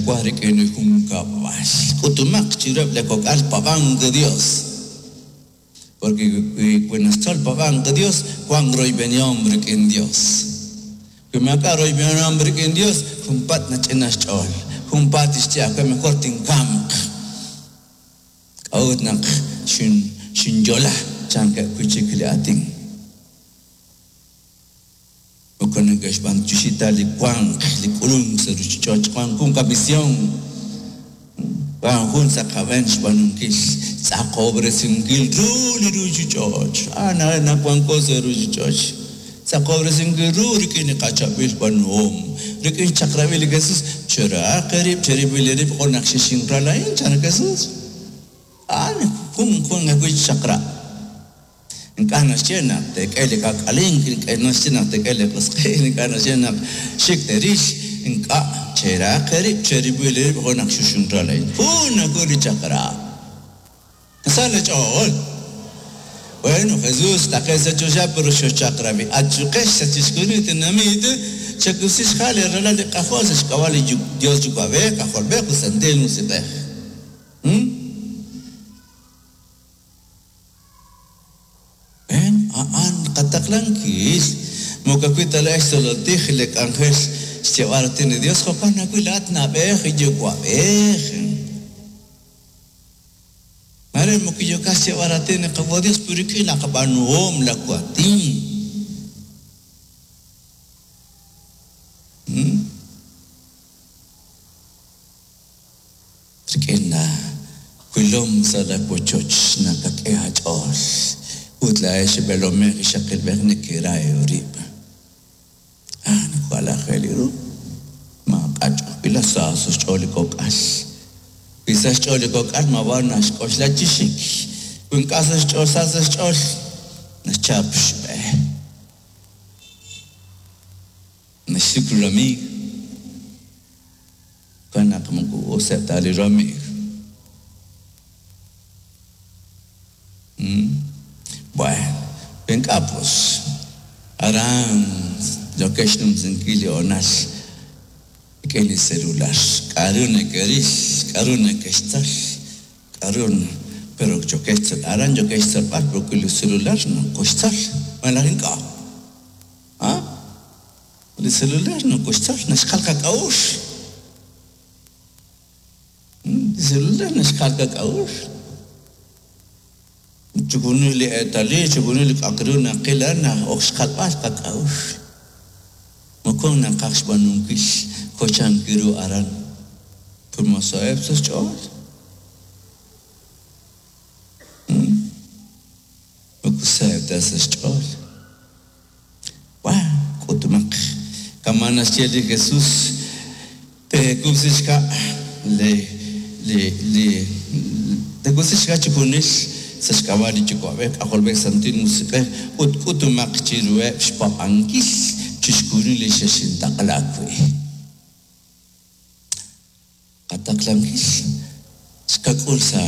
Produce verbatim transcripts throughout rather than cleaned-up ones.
Xb'enwa rik'in li junkab'al. K'utumaq chiruheb' li kok'al pabank Dios. Porque wi naxtzol pabank Dios, wan royb'enihom rik'in Dios. Wi maak'a' royb'enihom rik'in Dios, junpaat nach'ina xch'ool. Junpaat tixye ajwi' mejor tinkamq. K'a'ut naq xin xinyola chankeb' wi' chik li aatin. Moko neke'xb'antioxi ta li wank, li k'ulunk sa' ruuchich'och', wan jun qamisión, wan jun sa' qab'een xb'aanunkil, tz'aqob'resinkil ru li ruuchich'och'. Ah, na nawanko sa' ruuchich'och'. Tz'aqob'resinkil ru rik'in li qachab'il b'aanuhom, rik'in xchaq'rab'il li Jesús, cheraq eerib', cherib'il eerib' jo' naq xexinralahin, chan li Jesús. Ah, jun jun ajwi' xchaq'rab'. Ink'a' naxye naq teek'e li k'ak'alink, ink'a' naxye naq teek'e li q'usq'il, ink'a' naxye naq xik teerix, ink'a' cheraq eerib', cherib'il eerib' jo' naq xexinralahin. Jun ajwi' li chaq'rab'. Sa' la ch'ool. Bueno, Jesús taqe' sa' choxa pero xochaq'rabi. Achuqex sa' chixjunil tinamit, chakub'si xjal li ralal li k'ajol sa' xk'ab'a' li Dios Yuwa'b'ej, K'ajolb'ej ut Santil Musiq'ej. Hmm? Ben, a'an qataqlankil. Moko wi' ta la'ex tzolotij li k'anjel xyeeb'al raatin li Dios, jo'kan ajwi' laa'at na'b'ej yuwa'b'ej. Mare moko yo'kas xyeeb'al raatin li Qawa' Dios, pero rik'in laqab'aanuhom la waatin. Hmm? Rik'in la wilom sa' la wochoch nakak'e ach'ool. Ut la'ex b'eelomej ixaqilb'ej nekera eerib'. Ah, naku'alajel ru. Maak'ach'ojb'il sa' sa' xch'ool li kok'al. Wi sa' xch'ool li kok'al mab'ar naxk'oxla chi xik. Wi ink'a' sa' xch'ool sa' sa' xch'ool naxchap xb'e. Naxsik ru ramiig. Wan naq moko useb' ta li ramiig. Hmm? Bueno, ink'a' pues aran yokex numsinkil li honal rik'in li celular. K'a'ru neke'ril, k'a'ru neke'xtzol, k'a'ru pero yokex tzol aran yokex tzolb'al porque li celular nokoxtzol. Malaj ink'a'. Ah? Li celular nokoxtzol, naxjal qak'a'uxl. Li celular naxjal qak'a'uxl. Chukunu li eetalil, chukunu li k'aqru naqil aran na'ok xjalb'al qak'a'uxl. Moko naqaj xb'aanunkil jochanki ru aran. Pero masa'eb' sa' xch'ool. Moko sa'eb' ta sa' xch'ool. Wa, k'utumaq. Kama naxye li Jesús, teekub'si xka' li li li teekub'si xka' chijunil sa' xk'ab'a' li Yuwa'b'ej, K'ajolb'ej, Santil Musiq'ej, ut k'utumaq chiruheb' xpab'ankil chixjunil li xexintaqla wi'. Qataqlankil xkak'ul sa'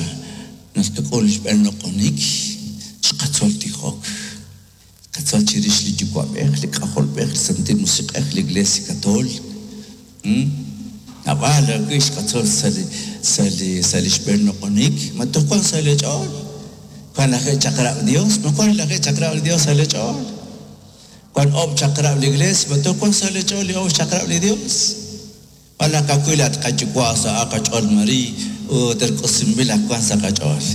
naxkak'ul xb'een loq'onik, xqatzol tijok. Xqatzol chirix li Yuwa'b'ej, li K'ajolb'ej, li Santil Musiq'ej, li Iglesia Católica. Hmm? Naab'al ajwi' xqatzol sa' li sa' li sa' li xb'een loq'onik, ma toj wan sa' li ch'ool. Wan laje' chaq'rab' Dios, ma wan laje' chaq'rab' Dios sa' li ch'ool. Wan ob' chaq'rab' li Iglesia, ma toj wan sa' li ch'ool li ob' chaq'rab' li Dios. Wala qak'ul at qayuwa' sa' qach'ool Marí ut erk'usinb'il aj wan sa' qach'ool.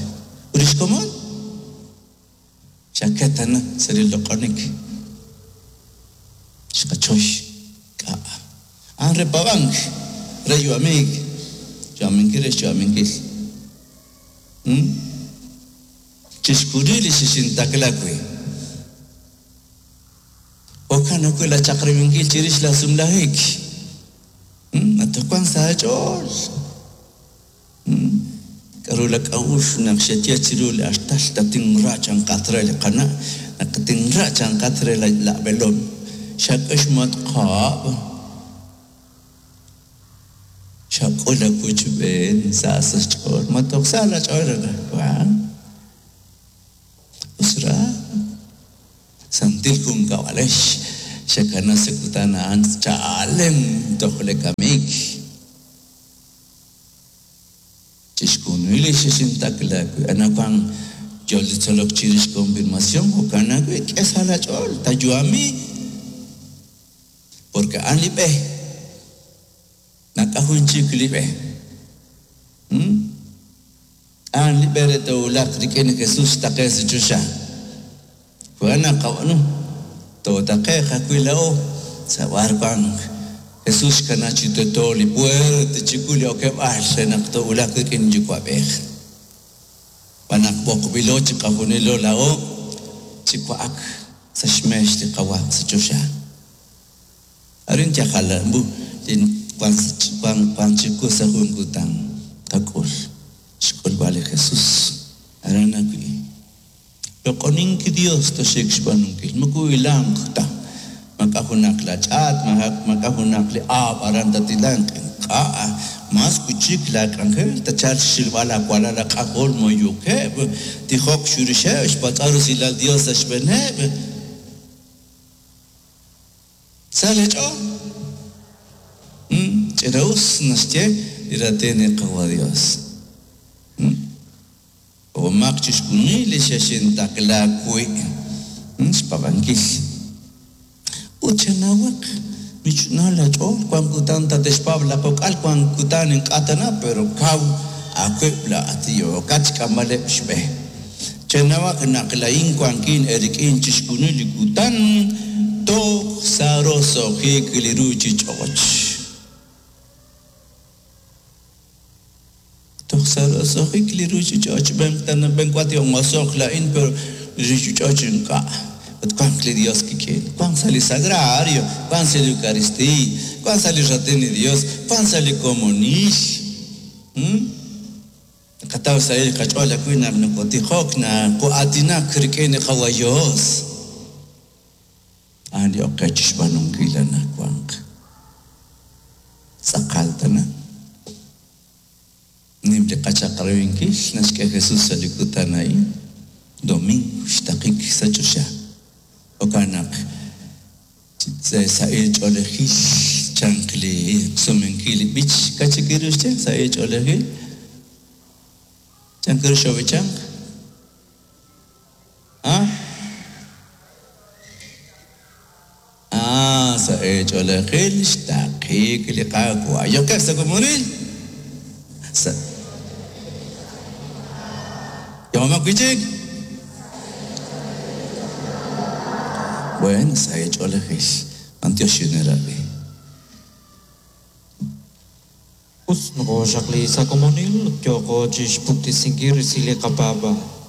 Ut lix komon? Xaketana sa' li loq'onik. Xqachoy k'a'. An repabank re yu'amik. Yu'aminkil re xyu'aminkil. Hmm? Chixjunil li xixintaqla wi'. Jo'kan ajwi' la chaq'rab'inkil chirix la sumlajik. Hmm? Atoj wan sa' ch'ool. Hmm? K'a'ru la k'a'uxl naq xaye chiru li axtal tatinra chanqat re li qana', naq tinra chanqat re la la'b'elom. Xak'ex matq'ab'. Xak'ul akuchb'een sa' sa' xch'ool. Ma toj sa' la ch'ool wan. Usra. Santil junkab'alex. Xakana sa' kutan a'an cha'alem toj le kamik. Chixkunili xexintaklawi anawan yolitzolok chirix confirmación jokanawi k'e sa' lach'ool tayuami porque an li b'e nak'ajun chik li b'e an li b'e re tawulaq rik'in Jesús taqe sa' choxa wana qawanu totaqe qawilao sa' warwan Jesús kanachi toto li puerta chikuli okeb'al renaq tawulaq rik'in yuwa'b'ej wanak b'oqb'ilo chiqajunilo la'o chiwa'ak sa' xmex li qawa' sa' choxa arin chajalambu lin wan wan wan chiku sa' jun kutan qak'ul xk'ulb'al li Jesús aran awi loq'onink Dios toxik xb'aanunkil muku ilanq ta mak'ajunaq la ch'aat mak'ajunaq li aab' aran tatilanq qa'a mas kuchik la k'anjel tachal xilb'al awalal q'ajol moyukeb' tijok xurixeb' xpatz'ar usilal Dios sa' xb'eeneb' sa' lech'o ch'inaus naxye li raatin li Qawa Dios omaq chixjunil li xexintaqla wi' xpab'ankil ut chanawaq mich'na lach'ool wan kutan tatexpab' la kok'al wan kutan ink'atana pero kaw awib' la atiyokach k'amaleb' xb'e chanawaq naq la'in wankin erik'in chixjunil li kutan toj sa' roso'jik li ruchich'och toj sa' roso'jik li ruchich'och ben tan ben kwati ongosoq la'in pero ruchich'och ink'a' ut wan li Dios kik'in wan sa' li sagrario wan sa' li Eucaristía wan sa' li raatin li Dios wan sa' li komonil qataw sa' li qach'ool awi' naq nokotijok nako'atinak rik'in li Qawa Dios an li oqech xb'aanunkil anaqwanq tz'aqal tana nim li qachaq'rawinkil naxk'e Jesús sa' li kutan a'in domingo xtaqik sa' choxa okanaq sa' ch'oolejil chanq li sumenkil li b'ich kachikiruxche sa' ch'oolejil chank ruxob'ichanq ah ah sa' ch'oolejil xtaqik li Qaawa' yokeb' sa' komonil sa' yomaq wichik bueno sa' ch'oolejil antioxinerabi Us nokoxaqli sa' komonil yoko chixpuktisinkil risili qapaab'aal.